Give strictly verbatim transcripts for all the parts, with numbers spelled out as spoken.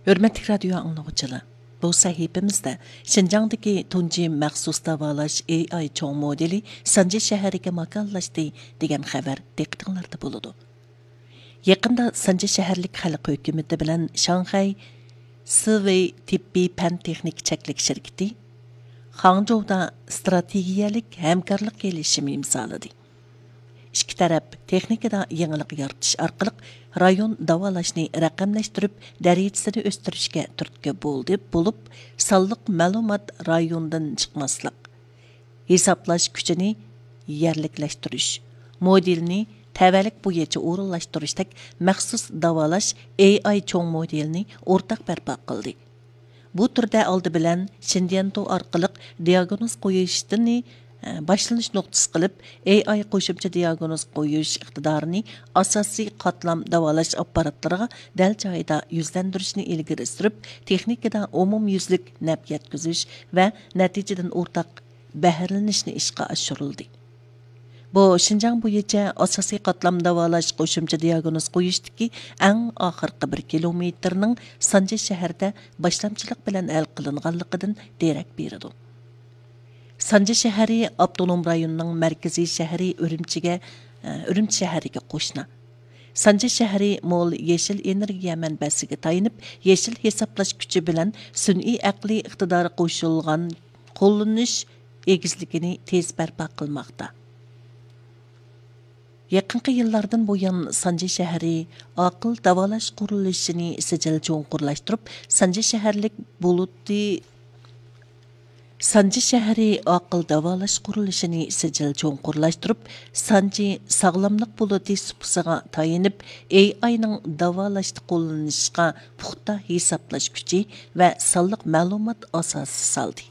ھۆرمەتلىك رادىيو ئاڭلىغۇچىلار، بۇ سەھىپىمىزدە شىنجاڭدىكى تۇنجى مەخسۇس داۋالاش ئېي ئاي چوڭ مودېلى سانجى شەھىرىگە ماكانلاشتى دېگەن خەۋەر دىققىتىڭلاردا بولىدۇ. يېقىندا سانجى شەھەرلىك خەلق ھۆكۈمىتى بىلەن شاڭخەي سىۋېي تېببىي پەن تېخنىكا چەكلىك شىركىتى خاڭجۇدا ئىستراتېگىيەلىك ھەمكارلىق كېلىشىمى ئىمزالىدى. ئىككى تەرەپ تېخنىكىدا يېڭىلىق يارىتىش ئارقىلىق رايون داۋالاشنى رەقەملەشتۈرۈپ، دەرىجىسىنى ئۆستۈرۈشكە تۈرتكە بولدى، بولۇپ، سانلىق مەلۇمات رايوندىن چىقماسلىق، ھېسابلاش كۈچىنى يەرلىكلەشتۈرۈش، مودېلنى تەۋەلىك بويىچە ئورۇنلاشتۇرۇشتەك مەخسۇس داۋالاش ئېي ئاي چوڭ مودېلىنى ئورتاق بەرپا قىلدى. بۇ تۈردە ئالدى بىلەن شىندىيەنتو ئارقىلىق دىئاگنوز قويۇشنى، ئە، باشلىنىش نۇقتىسى قىلىپ، ئېي ئاي قوشۇمچە دىئاگنوز قويۇش ئىقتىدارىنى ئاساسىي قاتلام داۋالاش ئاپپاراتلىرىغا دەل جايىدا يۈزلەندۈرۈشنى ئىلگىرى سۈرۈپ، تېخنىكىدا ئومۇميۈزلۈك نەپ يەتكۈزۈش ۋە نەتىجىدىن ئورتاق بەھرىلىنىشنى ئىشقا ئاشۇرۇلدى. بۇ شىنجاڭ بويىچە ئاساسىي قاتلام داۋالاش قوشۇمچە دىئاگنوز قويۇشتىكى ئەڭ ئاخىرقى بىر كىلومېتىرنىڭ سانجى شەھەردە باشلامچىلىق بىلەن ھەل قىلىنغانلىقىدىن دېرەك بېرىدۇ. سانجى شەھىرى ئاپتونوم رايوننىڭ مەركىزىي شەھىرى ئۈرۈمچىگە، ئۈرۈمچى شەھىرىگە قوشنا. سانجى شەھىرى مول يېشىل ئېنېرگىيە مەنبەسىگە تايىنىپ، يېشىل ھېسابلاش كۈچى بىلەن سۈنئىي ئەقلىي ئىقتىدارى قوشۇلغان قوللىنىش ئېگىزلىكىنى تېز بەرپا قىلماقتا. يېقىنقى يىللاردىن بۇيان، سانجى شەھىرى ئاقىل داۋالاش قۇرۇلۇشىنى سىجىل چوڭقۇرلاشتۇرۇپ، سانجى شەھەرلىك بولۇتى، سانجى شەھىرى ئاقىل داۋالاش قۇرۇلۇشىنى سىجىل چوڭقۇرلاشتۇرۇپ، سانجى ساغلاملىق بولۇتى سۇپىسىغا تايىنىپ، ئېي ئاينىڭ داۋالاشتا قوللىنىشقا پۇختا ھېسابلاش كۈچى ۋە سانلىق مەلۇمات ئاساسى سالدى.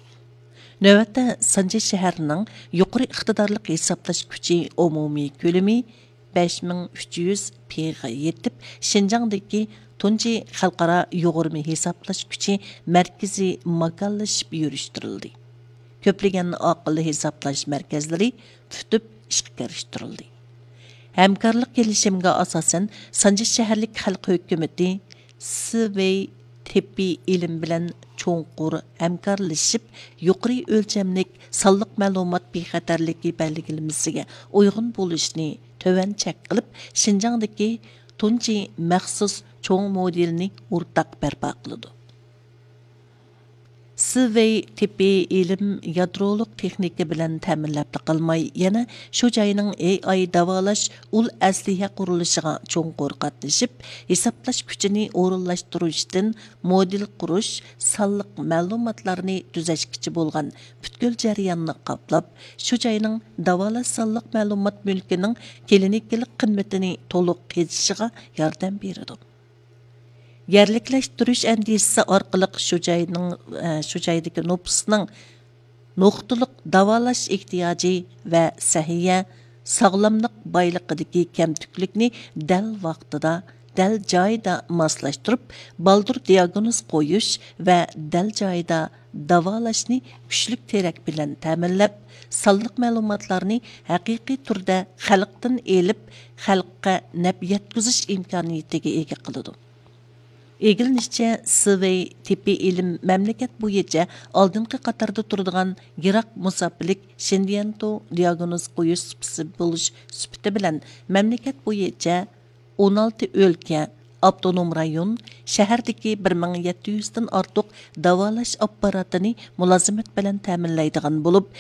نۆۋەتتە سانجى شەھەرنىڭ يۇقىرى ئىقتىدارلىق ھېسابلاش كۈچى ئومۇمىي كۆلىمى بەش مىڭ ئۈچ يۈز پىغا يېتىپ، شىنجاڭدىكى تۇنجى خەلقئارا يۇغۇرما ھېسابلاش كۈچى مەركىزى ماكانلىشىپ يۈرۈشتۈرۈلدى. كۆپلىگەن ئاقىل ھېسابلاش مەركەزلىرى پۈتۈپ ئىشقا كىرىشتۈرۈلدى. ھەمكارلىق كېلىشىمىگە ئاساسەن، سانجى شەھەرلىك خەلق ھۆكۈمىتى سىۋېي تېببىي ئىلىم بىلەن چوڭقۇر ھەمكارلىشىپ، يۇقىرى ئۆلچەملىك سانلىق مەلۇمات بىخەتەرلىكى بەلگىلىمىسىگە ئۇيغۇن بولۇشنى تۆۋەن چەك قىلىپ، شىنجاڭدىكى تۇنجى مەخسۇس چوڭ مودېلنى ئورتاق بەرپا قىلىدۇ. سىۋېي تېببىي ئىلىم يادرولۇق تېخنىكا بىلەن تەمىنلەپلا قالماي، يەنە شۇ جاينىڭ ئېي ئاي داۋالاش ئۇل ئەسلىھە قۇرۇلۇشىغا چوڭقۇر قاتنىشىپ، ھېسابلاش كۈچىنى ئورۇنلاشتۇرۇشتىن مودېل قۇرۇش، سانلىق مەلۇماتلارنى تۈزەشكىچە بولغان پۈتكۈل جەرياننى قاپلاپ، شۇ جاينىڭ داۋالاش سانلىق مەلۇمات مۈلكىنىڭ كلىنىكىلىق قىممىتىنى تولۇق قېزىشىغا ياردەم بېرىدۇ. يەرلىكلەشتۈرۈش ئەندىزىسى ئارقىلىق شۇ جاينىڭ، ئە، شۇ جايدىكى نوپۇسنىڭ نۇقتىلىق داۋالاش ئېھتىياجى ۋە سەھىيە، ساغلاملىق بايلىقىدىكى كەمتۈكلۈكنى دەل ۋاقتىدا، دەل جايىدا ماسلاشتۇرۇپ، بالدۇر دىئاگنوز قويۇش ۋە دەل جايىدا داۋالاشنى كۈچلۈك تېرەك بىلەن تەمىنلەپ، سانلىق مەلۇماتلارنى ھەقىقىي تۈردە خەلقتىن ئېلىپ، خەلققە نەپ يەتكۈزۈش ئىمكانىيىتىگە ئىگە قىلىدۇ. ئىگىلىنىشىچە، سىۋېي تېببىي ئىلىم مەملىكەت بويىچە ئالدىنقى قاتاردا تۇرىدىغان يىراق مۇساپىلىك شىندىيەنتو دىئاگنوز قويۇش سۇپىسى بولۇش سۈپىتى بىلەن، مەملىكەت بويىچە ئون ئالتە ئۆلكە، ئاپتونوم رايون، شەھەردىكى بىر مىڭ يەتتە يۈزدىن ئارتۇق داۋالاش ئاپپاراتىنى مۇلازىمەت بىلەن تەمىنلەيدىغان بولۇپ،